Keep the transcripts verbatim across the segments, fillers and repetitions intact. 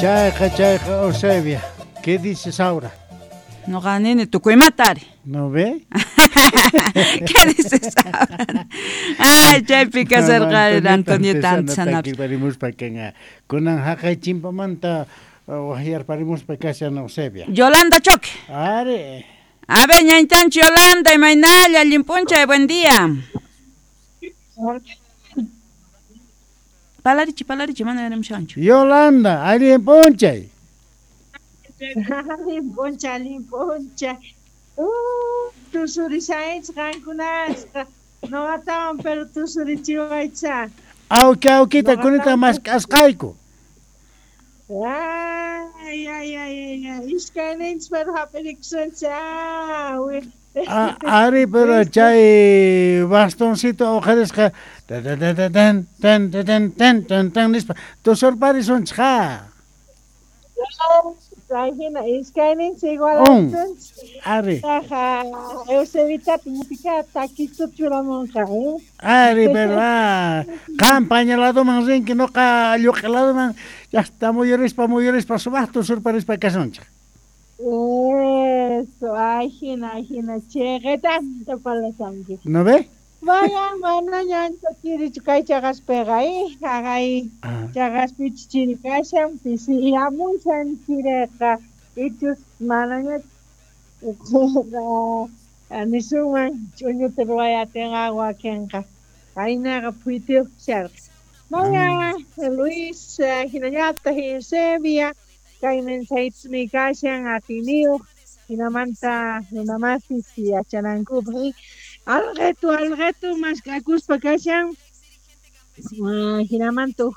Chayqa chayqa Eusebia, ¿qué dices ahora? Noqa nini tukuymata ari. ¿No ve? ¿Qué dices ahora? Ay, chaypi kasharqa Antonieta Antesana. Takiparimuspa kanqa. Kunan haqay chimpamanta waqyarparimuspa kashan Eusebia. Yolanda Choque. Ari. A ver, ñañtanchi Yolanda, imaynalla, allin p'unchay, buen día. Palarichi, palarichi, mana yaramshanchu. Yolanda, allin p'unchay. Allin p'unchay, allin p'unchay. Uh, tusurishaych qankunasqa. Noqatawan pero tusurichiwaycha. Awki awkita kunita mask'asqayku. Ay, ay, ay, ay, ay. Iskayninchis pero hap'irikusunchis. Ah, ari, pero chay bastoncito uqharisqa tan tan tan tan tan tan tan nispa tusurparisunchis ja. Chay hina iskayninchis igualasunchis. Ari. Taqa Eusebitata ñuqika takistuta churamunqa, eh? Ari, pero ah, qam paña ladoman rinki nuqa lluq'i ladoman llaqta muyurispa muyurispa sumaq tusurparispa kasunchik. Eso, ay hina, ay hina, chiqitanta parlasanki. ¿No ve? Vaya, manaña ancha chirichu kay chaqaspiqa, eh? Haqay chaqaspichu chiri kashan, pisiyamushan chiriqa, ichus manaña nisunman ch'uñuta ruway atinqa wakinqa. Kaynaqa phuytiyuq kasharqa. Vaya, Luis, hinallataq Eusebia, kay mensajitmi kashan atiniyuq, hinamanta runamasis yachanankupaq. Alqetu, alqetu mask'akuspa kashan, hinamanta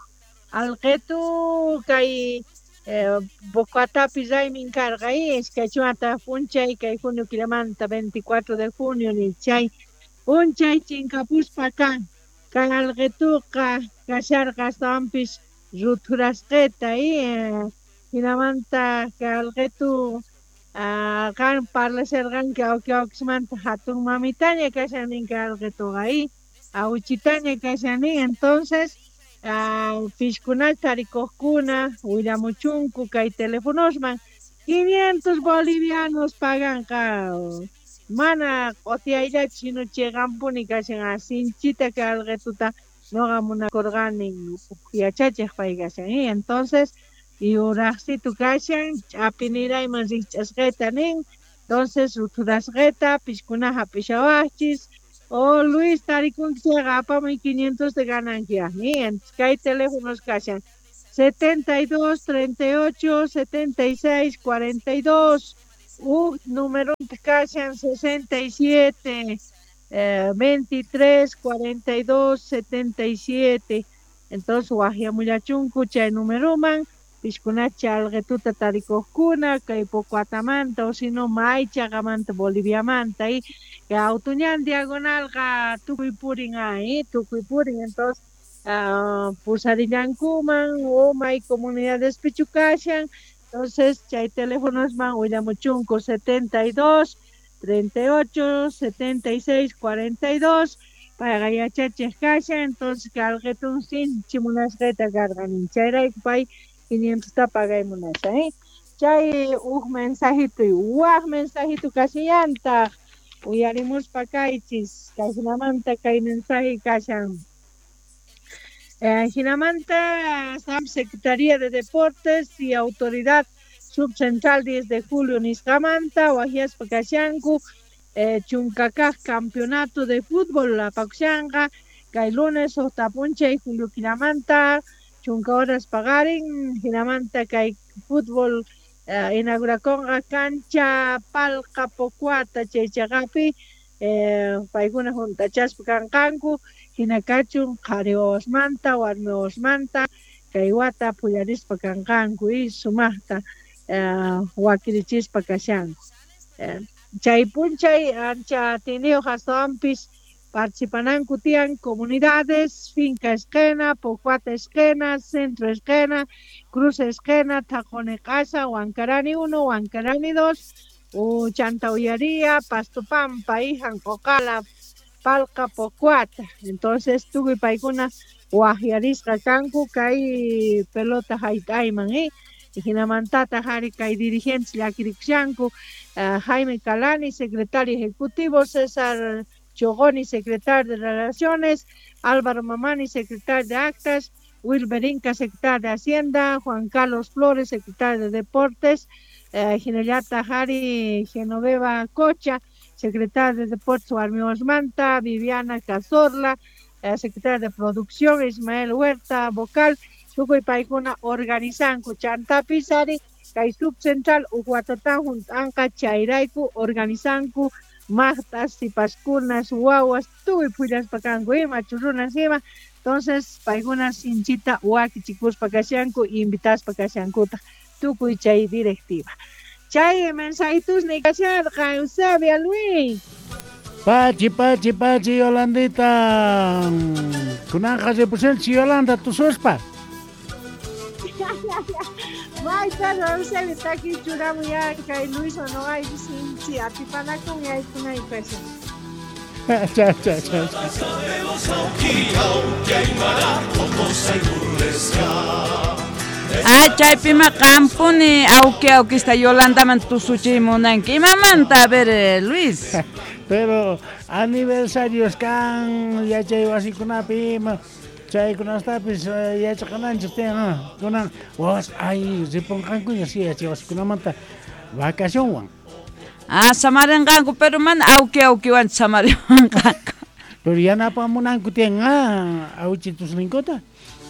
alqetu kay Pocoatapi raymin karqa, iskay chunka p'unchay kay junio killamanta veinticuatro de junio ni chay p'unchay chinkapuspa kan kay alqetuqa kasharqa astawanpis ruthurasqita, hinamanta kay alqetu qan parlasharqanki awki awkismanta hatun mamitaña kashan nin kay alqetuqa, awichitaña kashan nin. Entonces pishkunata tarikuqkuna willamuchunku kay telefonosman quinientos bolivianos paganqa mana q'utiyayllachu sino chiqanpuni kashan sinchita kay alqetuta noqa munakurqani yachachiq pay kashan. Entonces yuraqsitu kashan ch'apinirayman rikch'asqita nin. Entonces ruthurasqita pishkuna hap'ishawaqchis o Luis tarikunki chayqa apamuy quinientos de gananki. Kay teléfonos kashan setenta y dos, treinta y ocho, setenta y seis, cuarenta y dos. Uj número kashan sesenta y siete, eh, veintitrés, cuarenta y dos, setenta y siete. Entonces waqyamullachunku chay numeroman pishkunacha alqetuta tarikuqkuna kay Pocoatamanta o sino may chaqamanta Boliviamanta y kay Autuñan diagonalqa tukuy purin ay tukuy purin. Entonces uh, pusarillankuman o may comunidades pichu kashan. Entonces chay teléfonosman willamuchunku setenta y dos, treinta y ocho, setenta y seis, cuarenta y dos payqa yachachiq kashan. Entonces kay alqetun sinchi munasqita karqanin chayrayku pay quinientos ta pagay munasha, eh? Chay uj mensajito y waj mensajito kashallantaq uyarimuspa kaychis kay hinamanta kay mensaje kashan. Eh, hinamanta Secretaría de Deportes y Autoridad Subcentral diez de julio nisqamanta wajyaspa kashanku eh, chunkakaq campeonato de fútbol apakushanqa kay lunes suqta p'unchay julio killamanta chunka horas paqarin. Hinamanta kay fútbol eh, inaugurakunqa cancha Palqa Pocoata chay chaqapi eh, paykuna hunt'achaspa kanqanku hina kachun qhari wawasmanta warmi wawasmanta kay wata phullarispa kanqanku y sumaqta eh, wakirichispa kashanku. Eh, chay p'unchay ancha atiyniyuq astawanpis participananku tiyan comunidades, Finca Esquena, Pocoata Esquena, Centro Esquena, Cruz Esquena, Taqoniq'asa, Huancarani uno, Huancarani dos, Chanta Ullaría, Pasto Pampa, Janq'uqala, Palqa Pocoata. Entonces tukuy paykuna waqyarisqa kanku kay pelota hayt'ayman, eh? Hinamantata hari kay dirigentes llakirikushanku, uh, Jaime Calani, secretario ejecutivo, César Chogoni, secretario de Relaciones, Álvaro Mamani, secretario de Actas, Wilber Inca, secretario de Hacienda, Juan Carlos Flores, secretario de Deportes, eh, Ginellata Jari Genoveva Cocha, secretario de Deportes Warmi Manta, Viviana Cazorla, eh, secretaria de Producción, Ismael Huerta, vocal, tukuy paykuna organizanku, chantapis ari, kay subcentral uj watatan hunt'anqa chayrayku organizanku maqtas, sipaskunas, wawas, tukuy phullaspa kanku ima, churrunas ima. Entonces paykuna sinchita wakichikuspa kashanku, invitaspa kashankutaq tukuy chay directiva. Chay mensajitusni kasharqa, Eusebia Luis. Pachi, pachi, pachi, Yolandita. Kunanqa ripusunchis Yolanda tususpa. Mayta Eusebio taki churamuy kay Luis noqayku sinchi atipanakun yaykunay kashan. Chao, chao, chao. Ah, chaypima qampuni awki awkista Yolandaman tusuchiy munanki. Imamanta, a ver, eh, Luis. Pero aniversarios kan yachay wasikunapi ima chaykunastapis eh, yachaqananchis tiyan kunan wawas ay ripunqankuña si yachay wasikunamanta vacacionwan. Ah, samarinqanku, pero mana awki awkiwanchu samarinqanku. Pero yanapamunanku tiyan ah, awchitusninkuta.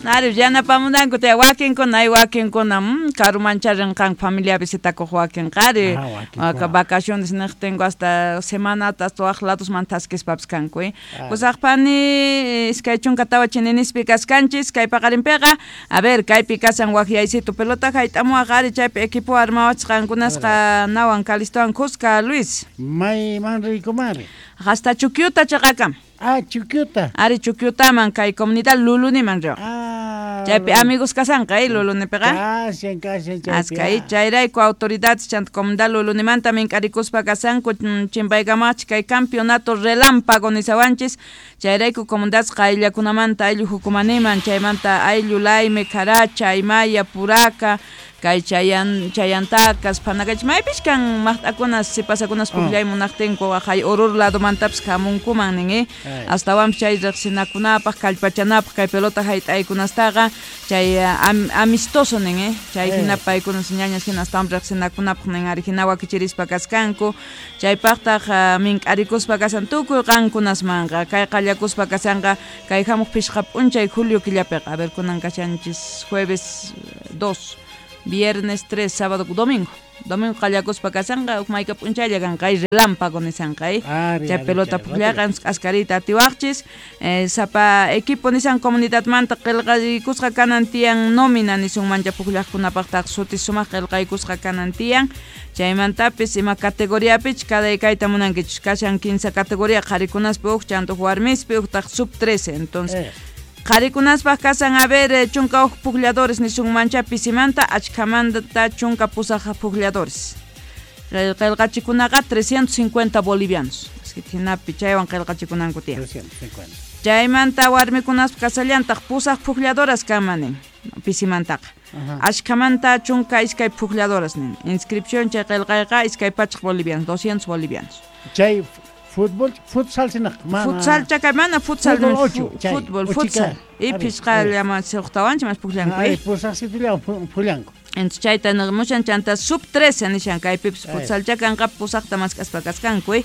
Ari, yanapamunanku tiyan wakinkuna, hay wakinkuna, mm, karumancha rinqanku familia visitakuq wakinqa, ari. Ah, wakinkuna. Vacaciones niqtinku hasta semanata hasta waq ladosman thaskispapis kanku, eh. Ah. Pusaqpani iskay chunka tawa chininispi kaskanchis kay paqarinpiqa, a ver, kaypi kasan waqyaysitu pelota hayt'amuwaq ari chaypi equipo armawachis qankunasqa nawan Calistowan kuska, Luis. Mayman riykumari? Hasta Chukyuta chaqakam. Ah, Chukyuta. Ari Chukyutaman kay comunidad Luluniman riq. Ah, Chaypi amigos kasanqa, eh, Lulunipiqa. Kashan, kashan chaypi. Aska, chayrayku autoridades chanta comunidad Lulunimanta mink'arikuspa kasanku chimpaykamachik kay campeonato relámpago nisawanchis, chayrayku comunidades qayllakunamanta ayllu hukumaniman, chaymanta ayllu Layme, Caracha, Aymaya, Puraka, kay chayan chayantakas phanakach maypis kan maqt'akunas sipasakunas pukllay munaqtinku hay Oruro ladomantapis hamunkuman nin, eh? Astawanpis chay riqsinakunapaq kallpachanapaq kay pelota hayt'aykunastaqa chay am, amistoso nin, eh? Chay hina paykunas ñañas hina astawan riqsinakunapaq nin ari hina wakichirispa kaskanku chaypaqtaq uh, mink'arikuspa kasan tukuy qankunasmanqa kay qallakuspa kasanqa kay hamuq pishqa p'unchay julio killapiqa, a ver, kunan kashanchis jueves dos, viernes tres, sábado, domingo. Domingo qallakuspa kasanqa huk mayka p'unchaylla kanqa ay relámpago nisanqa, eh? Ari, Chay ari, pelota chay pukllaqa askarita atiwaqchis, eh, sapa equipo nisan comunidadmanta qillqaykusqa kanan tiyan nómina nisunmancha pukllaqkunapaqtaq suti sumaq qillqaykusqa kanan tiyan chaymantapis ima categoriapich cada kayta munankichis kashan quince categoría qharikunaspi huk chanta huk warmispi huktaq sub trece, entonces Eh. qharikunaspaq kasan a ver eh, chunka huk puklladores nisunmancha pisimanta achkhamanta chunka pusaq puklladores qillqachikunaqa trescientos cincuenta bolivianos así que hinapi chaywan qillqachikunanku tiyan. trescientos cincuenta. Chaymanta warmikunaspa kasallantaq pusaq puklladoras kaman nin pisimantaqa achkhamanta chunka iskay puklladoras nin inscripción chay qillqayqa iskay pachak bolivianos doscientos bolivianos. Chay fútbol futsal sinaq mana Futsal chakay mana futsal Fútbol nin, ocho, fu- chay, fútbol uchika. Futsal y Ari, pishqa ari. llama suqtawanchik mas pukllanku Ari, eh. pusaqsitullawan pullanku. Entonces chayta nimushan chanta sub trece nishan kaypipis Ay. futsal chakanqa pusaqta mask'aspa kaskanku, eh.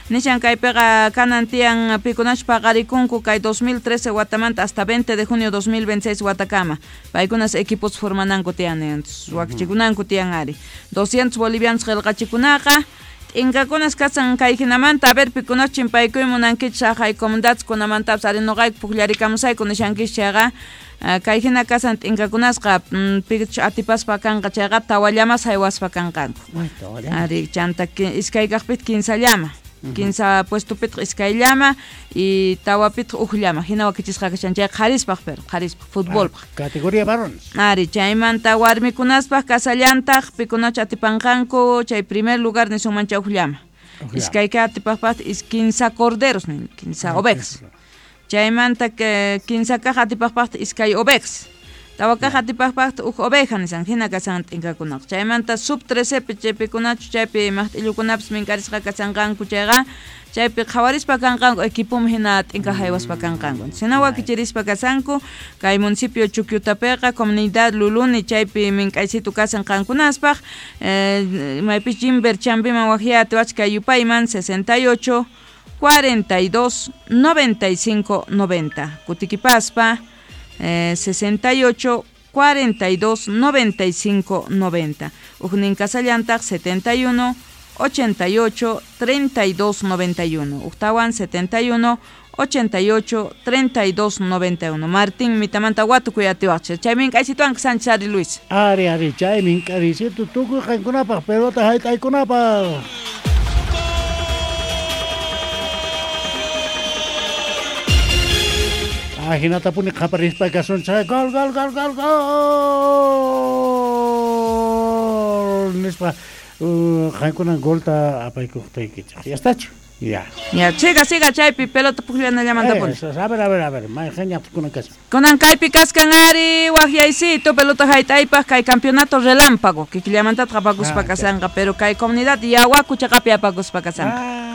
Nishan kaypiqa kanan tiyan pikunash paqarikunku kay dos mil trece watamanta hasta veinte de junio dos mil veintiséis watakama paykunas equipos formananku tiyan, entonces wakichikunanku tiyan ari doscientos bolivianos qillqachikunaqa t'inkakunas kasan kay hinamanta, a ver, pikunas chimpaykuy munankichis haqay comunidades kunamantapis ari nuqayku pukllarikamusayku nishankichis chayqa ah, kay hina kasan t'inkakunasqa mm, pichus atipaspa kanqa chayqa tawa llamas haywaspa kanqanku. Ay, tawa llama. Ari chanta ki- iskay kaqpitaq kinsa llama, kinsa puestopitaq iskay llama y tawapitaq uj llama hina wakichisqa kashan chay qharispaq, pero qharispaq futbolpaq. Ah, categoría varones. Ari chaymanta warmikunaspaq kasallantaq pikunachu atipanqanku chay primer lugar nisunmancha uj llama. Uj llama. Iskay kaq atipaqpaq is kinsa corderos nin, kinsa Ah, ovejas. Chaymanta que kinsa kaq atipaqpaq iskay ovejas. Tawa kaq atipaqpaqta uj oveja nisan hina kasan t'inkakunaqa. Chaymanta sub trece pi chaypikunachu chaypi maqt'illukunapis minkarisqa kasanqanku chayqa chaypi qhawarispa kanqanku equipum hina t'inka haywaspa kanqanku. Hina wakichirispa kasanku kay municipio Chukyutapiqa comunidad Luluni chaypi mink'aysitu kasan qankunaspaq eh, maypis Jimber Chambiman waqyati wachka yupayman sesenta y ocho cuarenta y dos noventa y cinco noventa. Kutikipaspa eh, sesenta y ocho cuarenta y dos noventa y cinco noventa. Ujnin kasallantaq setenta y uno ochenta y ocho treinta y dos noventa y uno. Ujtawan setenta y uno ochenta y ocho treinta y dos noventa y uno. Martín mitamanta watukuy atiwaqchis. Chay mink'aysituwan Sánchez Ari Luis. Ari ari chay mink'arisitu tukuy qankunapaq pelota hayt'aykunapaq. Ajinatapuni qaparispa kasunchik gol gol gol gol gol nispa qankunan golta apaykuqtaykichik. Ya estachu. Ya. Ya, siga, siga chaypi pelota pukllanallamantapuni. Eh, a ver, a ver, a ver, mayqin kashan. Kunan kaypi kaskan ari waqyaysito pelota hayt'aypaq kay campeonato relámpago kikillamantataq apakuspa ah, kasanqa, pero kay comunidad Yawaku chaqapi apakuspa kasanqa. Ah.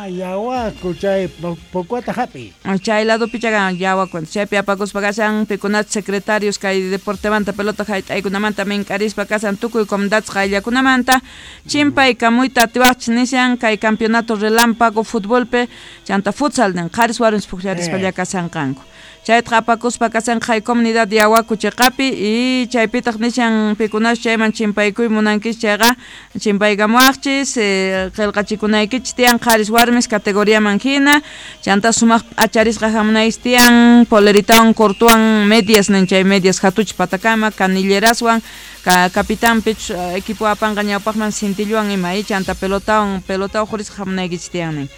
Yawaku chay pokuata hapi. Chay ladopi chagan Yawaku chaypi apakuspa kasan pikunach secretarios kay deportemanta pelota hayt'aykunamanta mink'arispa kasan tukuy comunidades qayllakunamanta chimpay kamuyta atiwaqchis nishan kay campeonato relámpago futbolpe chanta futsal nin qharis warmis pukllarispalla kasanqanku. Chaytaqa apakuspa kasan kay comunidad Yawaku chiqapi y chaypitaq nishan pikunash chayman chimpaykuy munankis chayqa chimpaykamuwaqchis eh, qillqachikunaykichis tiyan qharis warmis categoriaman hina chanta sumaq p'acharisqa hamunaykichis tiyan poleritawan cortuwan medias nin chay medias hatuch patakama canilleraswan ka capitanpich equipo apanqa ñawpaqman cintilluwan ima y chanta pelotawan pelota uqhurisqa hamunaykichis tiyan nin.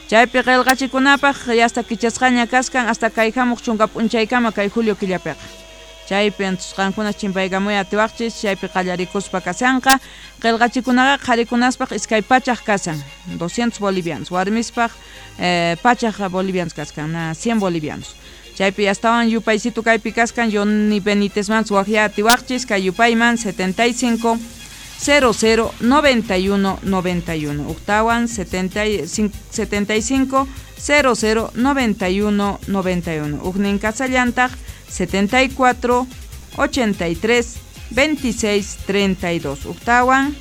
Chaypi qillqachikunapaq hasta kichasqaña kaskan hasta kay hamuq chunka p'unchaykama kay julio killapiqa. Chaypi qankuna chimpaykamuy atiwaqchis chaypi qallarikuspa kasanqa qillqachikunaqa qharikunaspaq iskay pachaq kasan doscientos bolivianos warmispaq eh, pachaq bolivianos kaskan na cien bolivianos. Chaypi astawan yupaysitu kaypi kaskan Johnny Benítezman waqya atiwaqchis kay yupayman setenta y cinco cero cero noventa y uno noventa y uno. Octawan setenta y cinco cero cero noventa y uno noventa y uno. Ujnin kasallantaq setenta y cuatro ochenta y tres veintiséis treinta y dos. Octawan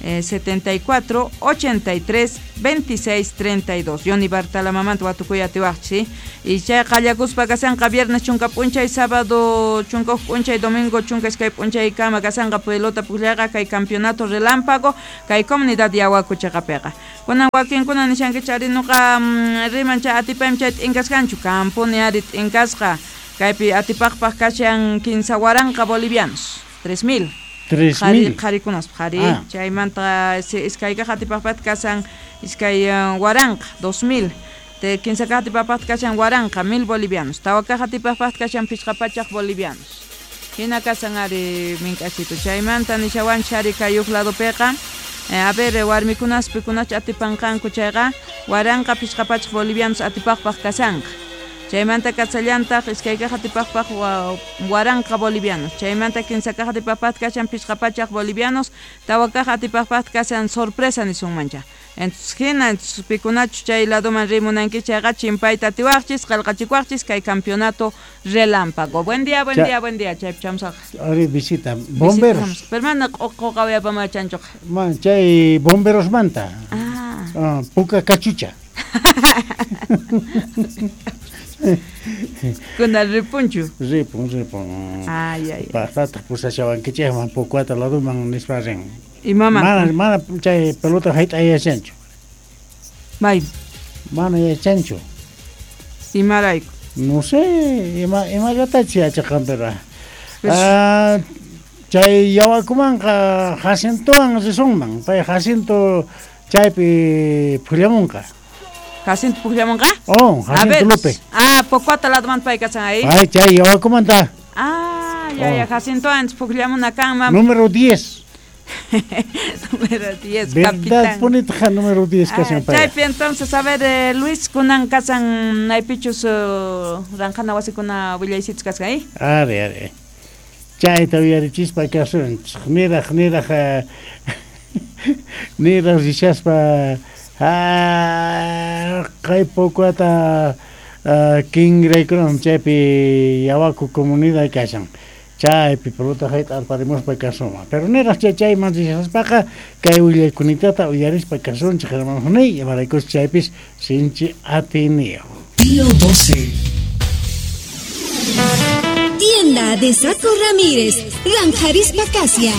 eh, setenta y cuatro ochenta y tres veintiséis treinta y dos. Johnny Bartalamamanta watukuy atiwaqchis. Y chay qallakuspa kasanqa viernes chunka p'unchay, sábado chunka huk p'unchay, domingo chunka iskay p'unchay kama kasanqa pelota pukllaqa kay campeonato relámpago kay comunidad Yawaku chiqapiqa. Kunan wakinkuna nishankichik ari nuqa riman chay atipaymi chay t'inkasqanchu kampuni ari t'inkasqa kaypi atipaqpaq kashan kinsa waranqa bolivianos tres mil. tres mil. Qharikunaspa qhari ah. Chaymanta iskay kaq atipaqpaq kasan iskay waranqa dos mil. Te kinsa kaq atipaqpaq kashan waranqa mil bolivianos. Tawa kaq atipaqpaq kashan pichqa pachaq bolivianos. Hina kasan ari mink'asito. Chaymanta nishawanchik ari kay huk ladopiqa eh, a ver warmikunas pikunach atipanqanku chayqa waranqa pichqa pachaq bolivianos atipaqpaq kasanqa. Chaymanta kasallantaq iskay kaq atipaqpaq waranqa bolivianos. Chaymanta kinsa kaq atipaqpaq kashan pichqa pachaq bolivianos. Tawa kaq atipaqpaq kasan sorpresa nisunmancha. Entonces hina entonces pikunachu chay ladoman rimunankichik chayqa chimpayta atiwaqchis qillqachikuwaqchis kay campeonato relámpago. Buen día, buen Cha, día, buen día. Chaypi chamusaq. Ari visita bomberos. Pero mana q'uqawayapamachanchuqa. Man chay bomberosmanta. Ah. Ah, puka kachucha. Kunan ripunchu. Ripun, ripun. Ay, ay. Paqtataq pusashawankichikman Pokuata ladoman nispa rin. Imaman? Mana, mana chay pelota hayt'ayachanchu. May. Mana yachanchu. Imarayku? No sé, ima imallatachi yachaqan pero. Ah, chay Yawakumanqa Jacintowan risunman. Pay Jacinto chaypi phullamunqa. Jacinto pukllamunqa? Oh, Jacinto López. Ah, Pokuata ladoman pay kasan ahí. Ay, chay Yawakumanta. Ah, ya, ya, Jacinto antes pukllamuna kanman. Número diez. Número diez, verdad, capitán. Ponete número diez kasan pay. Chaypi entonces, a ver, eh, Luis, kunan kasan naypichus uh, ranjana wasikuna willaysitus kaskan ahí. Are, are. Chayta uyarichispa kasunchik. Niraq niraq niraq rishaspa kay pokuata kingraykunam chaypi Yawaku comunidad kashan. Chaypi pelota hayta arparimuspa kasunman. Pero niraq chay chayman rishaspaqa kay willaykunitata uyarispa kasunchik hermanos niy, imaraykus chaypis sinchi atiniyuq. Pío doce. Tienda de Saco Ramírez, Ranjarispa Kasian.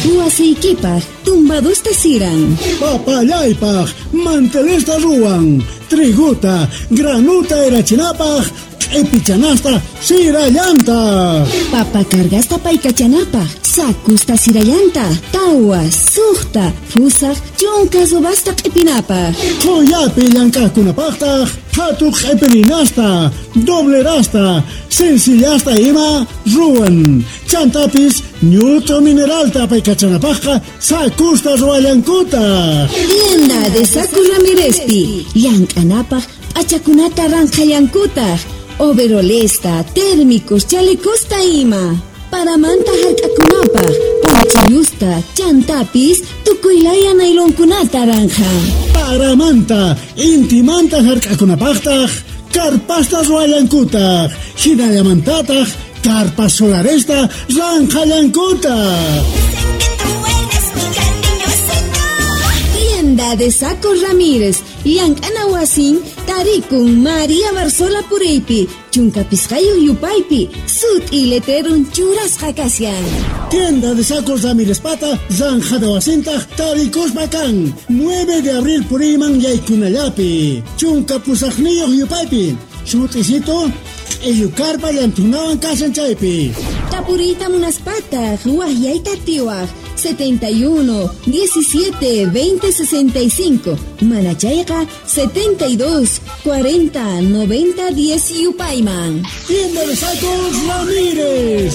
Huasiykipaq, tumbadusta siran. Papallaypaq, mantelesta ruwan. Triguta, granuta erachinapaq, q'ipichanasta sirallanta. Papa cargasta paykachanapaq, sakusta sirallanta, tawa, suqta, fusaq, chunka subasta q'ipinapaq. Qoyapi llank'aqkunapaqtaq, qhatu q'ipirinasta, doblerasta, sencillasta ima ruwan. Chantapis ñut'u mineralta paykachanapaqqa sakusta ruwallankuta. Tienda de Saco Ramírezpi, llank'anapaq p'achakunata ranqhallankutaq. Overolesta, térmicos, chalecosta ima. Paramanta hark'akunapaq, ponchillusta, chantapis, tukuylaya nailonkunata ranja. Paramanta, intimanta hark'akunapaqtaq, karpasta ruwallankutaq, hinallamantataq, karpas solaresta ranqhallankutaq. Tienda de Saco Ramírez, llank'ana wasin, tarikun María Barzola Puriypi, chunka pisqayuq yupaypi, sut'i letrerun churasqa kashan. Tienda de Sacos Ramírez Pata, zanjada wasintaq tarikuspa kan, nueve de abril puriyman yaykunallapi, chunka pusaqniyuq yupaypi, sut'isito, q'illukarpa llantunawan kashan chaypi. Tapuriyta munaspataq, waqyayta atiwaq, setenta y uno, diecisiete, veinte, sesenta y cinco, Manachayqa setenta y dos, cuarenta, noventa, diez yupayman. Tienda de Sacos Ramírez.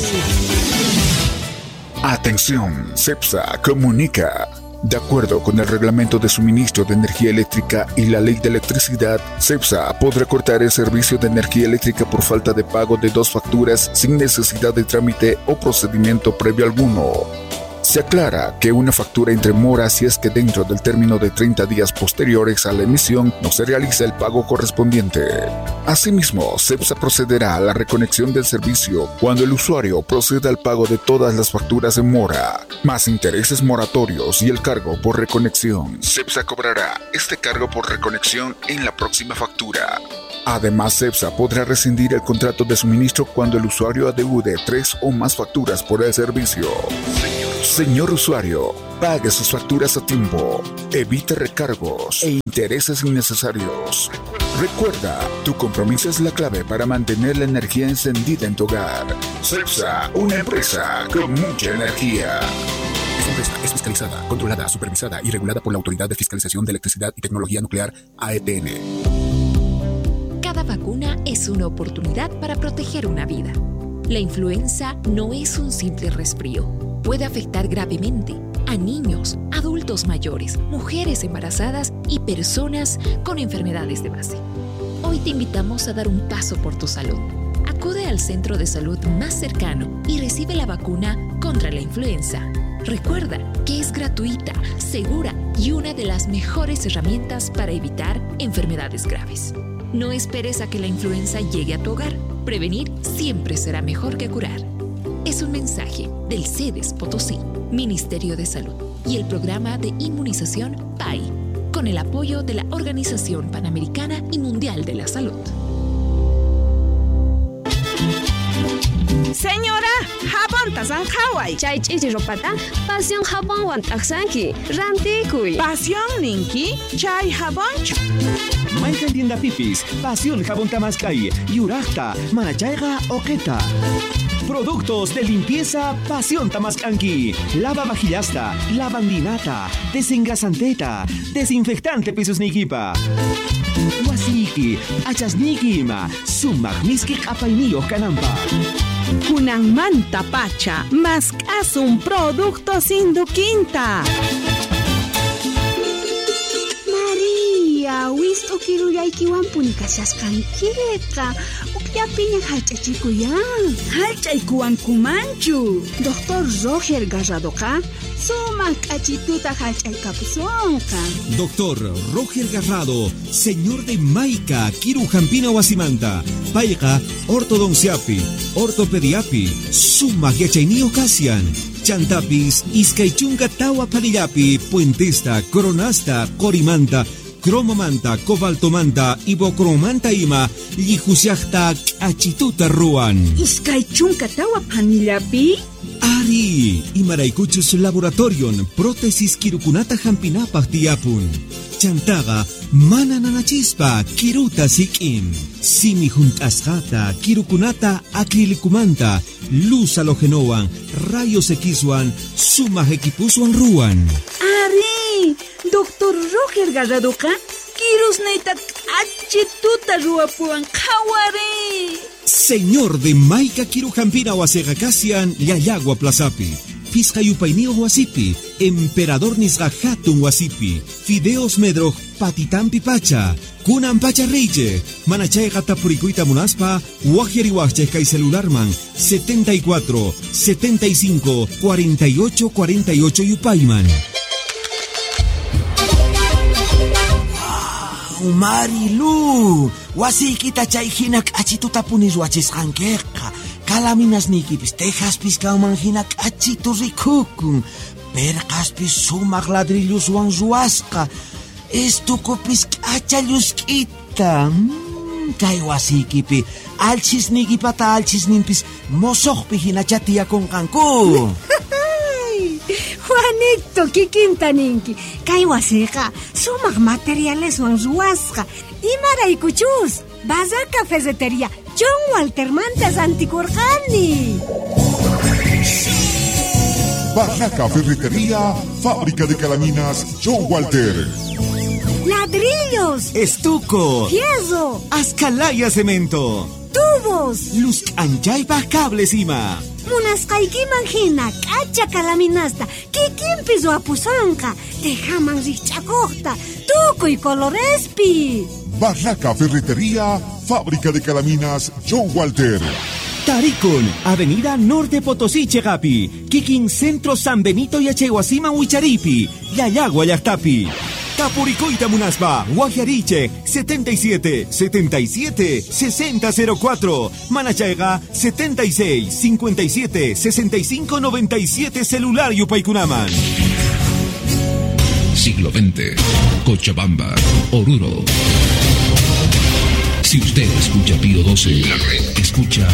Atención, CEPSA comunica. De acuerdo con el Reglamento de Suministro de Energía Eléctrica y la Ley de Electricidad, CEPSA podrá cortar el servicio de energía eléctrica por falta de pago de dos facturas sin necesidad de trámite o procedimiento previo alguno. Se aclara que una factura entre mora si es que dentro del término de treinta días posteriores a la emisión no se realiza el pago correspondiente. Asimismo, CEPSA procederá a la reconexión del servicio cuando el usuario proceda al pago de todas las facturas en mora, más intereses moratorios y el cargo por reconexión. CEPSA cobrará este cargo por reconexión en la próxima factura. Además, CEPSA podrá rescindir el contrato de suministro cuando el usuario adeude tres o más facturas por el servicio. Señor usuario, pague sus facturas a tiempo, evite recargos e intereses innecesarios. Recuerda, tu compromiso es la clave para mantener la energía encendida en tu hogar. CEPSA, una empresa con mucha energía. Esta empresa es fiscalizada, controlada, supervisada y regulada por la Autoridad de Fiscalización de Electricidad y Tecnología Nuclear, A E T N. Cada vacuna es una oportunidad para proteger una vida. La influenza no es un simple resfrío. Puede afectar gravemente a niños, adultos mayores, mujeres embarazadas y personas con enfermedades de base. Hoy te invitamos a dar un paso por tu salud. Acude al centro de salud más cercano y recibe la vacuna contra la influenza. Recuerda que es gratuita, segura y una de las mejores herramientas para evitar enfermedades graves. No esperes a que la influenza llegue a tu hogar. Prevenir siempre será mejor que curar. Es un mensaje del SEDES Potosí, Ministerio de Salud y el programa de inmunización P A I, con el apoyo de la Organización Panamericana y Mundial de la Salud. Señora, jabonta sanjaway. Chay ch'ichi ropata, pasión jabonwan t'aqsanki, rantikuy. Pasión ninki, chay jabonchu. Mayqan tienda pipis, pasión jabón tamaskay, yuraqta, manachayqa oqeta. Productos de limpieza Pasión Tamascanqui. Lava vajillasta, lavandinata, desengrasanteta, desinfectante pisusnikipa. Wasiki, achasniki ima, sumaq miski q'apayniyuq kananpaq. Kunanmanta pacha, mask'asun productos Induquinta. María, wist'u kirullaykiwanpuni kashasqankiqa. Yapiña hallch'achikuyan. Hallch'aykuwankumanchu. Doctor Roger Garradoqa sumaq k'achituta hallch'aykapusunqa. Doctor Roger Garrado, señor de Maica, Kiru Jampina Wasimanta, Payqa, ortodonciapi, ortopediapi, sumaq yachayniyuq kasian. Chantapis, iskay chunka tawa phanillapi, puentesta, coronasta, qorimanta, cromomanta, cobaltomanta, ibocromanta ima, llihusiaqta k'achituta ruwan. Iskay chunka tawa phanillapi? Ari, imaraykuchus laboratorion, prótesis kirukunata hampinapaq tiyapun. Chantaqa, mana nanachispa, kiruta sik'in. Simi hunt'asqata, kirukunata acrilicumanta, luz halogenowan, rayos Xwan, sumaq equipuswan ruwan. Ari, Doctor Roger Garradoqa, kirusniyta k'achituta ruwapuwan qhawari. Señor de Maica Kirujampina wasiqa kasian Llallagua Plazapi. Pisqa yupayniyuq wasipi, Emperador nisqa hatun wasipi, Fideos Medroj patitampi pacha, kunan pacha reyche, manachayqa tapurikuyta munaspa, waqyariwaqchik kay celularman setenta y cuatro setenta y cinco cuarenta y ocho cuarenta y ocho yupayman. Marilu, wasiykita chay hina k'achituta puni ruwachisqankiqa. Kalaminasniykipis tejaspis kanman hina k'achitu rikukun. Perqaspis sumaq ladrilloswan ruwasqa. Estukupis k'acha llusk'ita. Mm, kay wasiykipi alchisniykipata alchisninpis mosoqpi hinacha tiyakunqanku. Juanito, kikinta ninki. Kay wasiqa sumaq materialeswan ruwasqa. Imaraykuchus, Barraca Ferretería John Waltermanta rantikurqani. Barraca Ferretería, fábrica de calaminas John Walter. Ladrillos, Estuco, fierro, Ascalaya cemento, tubos, luz anchaypaq cables ima. Munasqaykiman hina k'acha kalaminasta kikinpi ruwapusunqa, tejaman rikch'akuqta, tukuy colorespi. Barraca Ferretería, fábrica de calaminas John Walter. Tarikun, Avenida Norte Potosí Chegapi, Kikin Centro San Benito Yachaywasiman Wicharipi, Llallagua llaqtapi. Tapurikuyta munaspa, waqyarichik, setenta y siete setenta y siete sesenta cero cuatro, Manachayqa setenta y seis cincuenta y siete sesenta y cinco noventa y siete celular yupaykunaman. Siglo veinte, Cochabamba, Oruro. Si usted escucha Pío doce, la red escucha